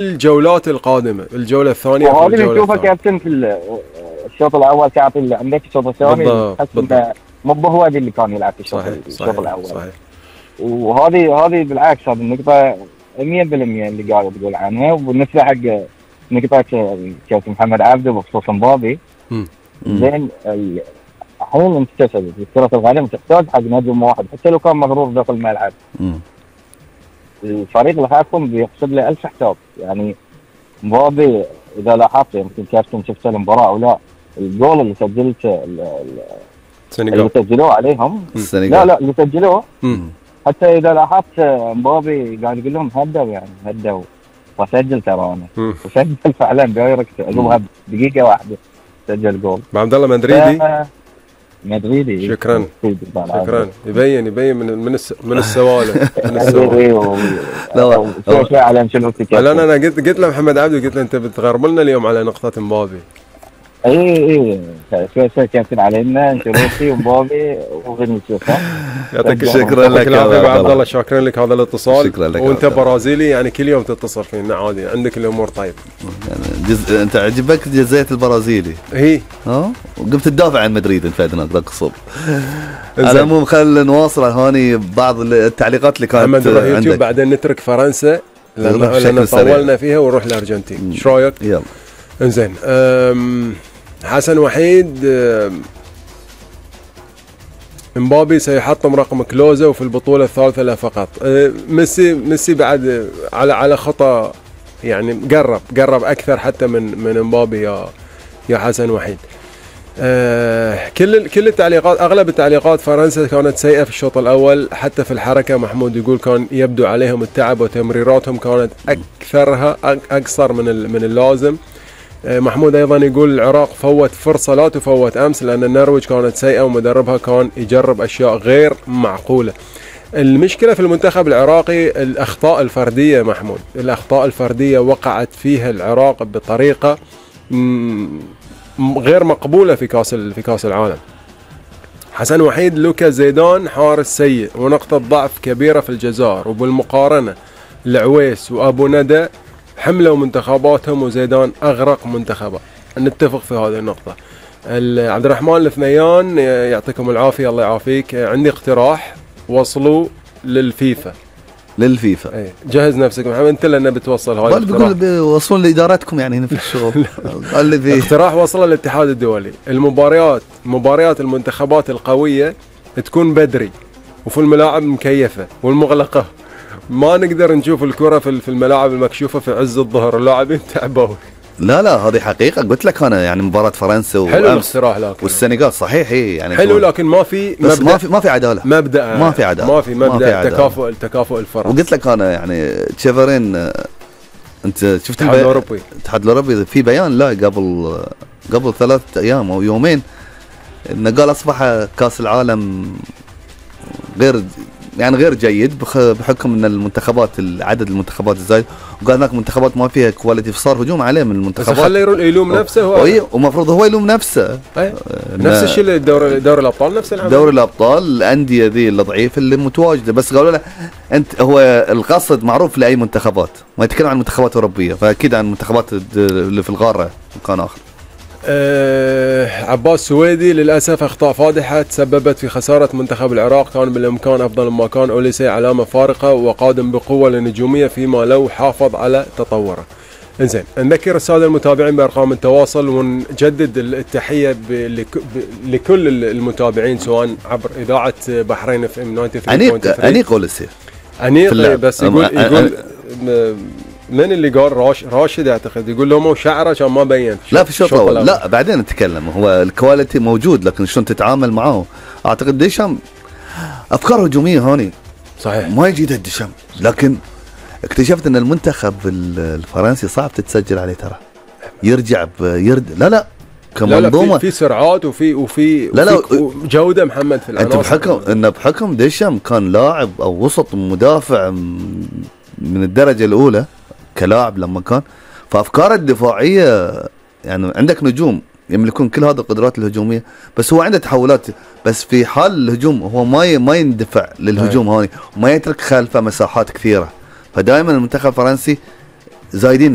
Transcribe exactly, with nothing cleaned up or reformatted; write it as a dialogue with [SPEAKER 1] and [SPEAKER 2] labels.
[SPEAKER 1] الجولات القادمه، الجوله الثانيه
[SPEAKER 2] وهذه بنشوفها كابتن في الشوط الاول كابتن اللي عندك الشوط الثاني تحس انه مو هو اللي كان يلعب في الشوط الشوط الاول. صحيح. وهذه هذه بالعكس هذه النقطه مية بالمية اللي قاعد تقول عنها. وبالنسبه حق نقطه كابتن محمد عبده بخصوص مبابي، زين الحين انت تسال في كره القدم تحتاج حق نجم واحد حتى لو كان مغرور داخل الملعب. الفريق اللي خايفهم بيحسب له ألف حساب. يعني مبابي اذا لاحظت يمكن كابتن شفت المباراه او لا، الجول اللي سجلته اللي سجلوه عليهم السنغال. لا لا اللي سجلوه حتى اذا لاحظت مبابي قاعد يقول لهم هدوا يعني هدوا وسجل ترى انا وسجل فعلا دايركت عقبها دقيقه واحده سجل جول.
[SPEAKER 1] عبد الله مدريدي
[SPEAKER 2] مدريدي.
[SPEAKER 1] شكرا شكرا. يبين يبين من من من السوالف من السوالف.
[SPEAKER 2] لا فعلا شنو
[SPEAKER 1] لا انا قلت قلت له محمد عبده قلت له انت بتغرب لنا اليوم على نقطه مبابي.
[SPEAKER 2] اي اي شوي كابتن علينا انشيلوتي ومبابي وفينيسيوس.
[SPEAKER 1] يعطيك
[SPEAKER 3] شكرا لك
[SPEAKER 1] يا عبد الله. شاكرين لك هذا الاتصال.
[SPEAKER 3] شكرا لك.
[SPEAKER 1] وانت برازيلي يعني كل يوم تتصل فينا عادي عندك الامور طيب.
[SPEAKER 3] يعني جز... انت عجبك جزئيه البرازيلي؟
[SPEAKER 1] هي
[SPEAKER 3] ها وقمت تدافع عن مدريد انت فادنا تقصب. على العموم خلينا نواصل هوني بعض التعليقات اللي كانت عندك.
[SPEAKER 1] بعدين نترك فرنسا لان طولنا فيها ونروح الارجنتين. ايش رايك؟
[SPEAKER 3] يلا.
[SPEAKER 1] انزين حسن وحيد، مبابي سيحطم رقم كلوزا وفي البطولة الثالثة لا فقط. ميسي ميسي بعد على على خطأ يعني قرب قرب أكثر حتى من من مبابي يا يا حسن وحيد. كل كل التعليقات أغلب التعليقات فرنسا كانت سيئة في الشوط الأول. حتى في الحركة محمود يقول كان يبدو عليهم التعب وتمريراتهم كانت أكثرها أقصر من من اللازم. محمود ايضا يقول العراق فوت فرصه لا تفوت امس لان النرويج كانت سيئه ومدربها كان يجرب اشياء غير معقوله. المشكله في المنتخب العراقي الاخطاء الفرديه محمود، الاخطاء الفرديه وقعت فيها العراق بطريقه غير مقبوله في كاس في كاس العالم. حسن وحيد لوكا زيدان حارس سيء ونقطه ضعف كبيره في الجزائر، وبالمقارنه العويس وابو ندى حملوا منتخباتهم وزيدان أغرق منتخبه. نتفق في هذه النقطة. عبد الرحمن الاثنيان يعطيكم العافية الله يعافيك. عندي اقتراح، وصلوا للفيفا
[SPEAKER 3] للفيفا
[SPEAKER 1] اي جهز نفسك محمد انت لأنه بتوصل هذا
[SPEAKER 3] الاقتراح. بقول وصلوا لإدارتكم يعني هنا في الشغل.
[SPEAKER 1] اللي فيه اقتراح وصل للاتحاد الدولي، المباريات مباريات المنتخبات القوية تكون بدري وفي الملاعب مكيفة والمغلقة. ما نقدر نشوف الكرة في الملاعب المكشوفة في عز الظهر، اللاعبين تعبوا.
[SPEAKER 3] لا لا هذه حقيقة قلت لك أنا يعني مباراة فرنسا وأمس والسنغال صحيح هي يعني
[SPEAKER 1] حلو لكن ما في
[SPEAKER 3] بس ما في ما في عدالة
[SPEAKER 1] مبدأ
[SPEAKER 3] ما في عدالة
[SPEAKER 1] ما في مبدأ تكافؤ التكافؤ الفرص.
[SPEAKER 3] وقلت لك أنا يعني تشيفرين أنت شفت
[SPEAKER 1] الاتحاد الأوروبي
[SPEAKER 3] الاتحاد الأوروبي في بيان لا قبل قبل ثلاثة أيام أو يومين إنه قال أصبح كأس العالم غير يعني غير جيد بحكم ان المنتخبات عدد المنتخبات الزايد، وقال هناك منتخبات ما فيها كواليتي فصار هجوم عليه من المنتخبات.
[SPEAKER 1] بس خليه يلوم نفسه هو
[SPEAKER 3] ومفروض هو يلوم نفسه.
[SPEAKER 1] نفس الشيء دوري دوري الابطال نفس العمل.
[SPEAKER 3] دوري الابطال الانديه ذي الضعيفه اللي متواجده بس قالوا له انت هو القصد معروف لاي منتخبات، ما يتكلم عن منتخبات اوروبيه فاكيد عن المنتخبات اللي في القاره مكان اخر.
[SPEAKER 1] أه عباس سويدي للأسف أخطاء فادحة تسببت في خسارة منتخب العراق، كان بالإمكان أفضل ما كان. أوليسي علامة فارقة وقادم بقوة للنجومية فيما لو حافظ على تطوره. إنزين نذكر السادة المتابعين بأرقام التواصل ونجدد التحية لكل المتابعين سواء عبر إذاعة بحرين اف ام تسعة وثمانين فاصلة ثلاثة.
[SPEAKER 3] أنيق أوليسي
[SPEAKER 1] أنيق بس يقول يقول من اللي قال راش راشد اعتقد يقول له مو شعره عشان ما بين.
[SPEAKER 3] لا في الشوط الاول لا بعدين نتكلم. هو الكواليتي موجود لكن شلون تتعامل معه. اعتقد ديشام افكار هجوميه هوني
[SPEAKER 1] صحيح
[SPEAKER 3] ما يجي ديشام، لكن اكتشفت ان المنتخب الفرنسي صعب تتسجل عليه ترى. يرجع يرد لا لا
[SPEAKER 1] كمنظومه لا لا في, في سرعات وفي وفي
[SPEAKER 3] لا لا
[SPEAKER 1] جوده محمد في العناصر.
[SPEAKER 3] انت بحكم انه بحكم ديشام كان لاعب او وسط مدافع من الدرجه الاولى كلاعب لما كان، فافكاره الدفاعيه يعني عندك نجوم يملكون كل هذه القدرات الهجوميه بس هو عنده تحولات، بس في حال الهجوم هو ما ما يندفع للهجوم هوني وما يترك خلفه مساحات كثيره. فدائما المنتخب الفرنسي زايدين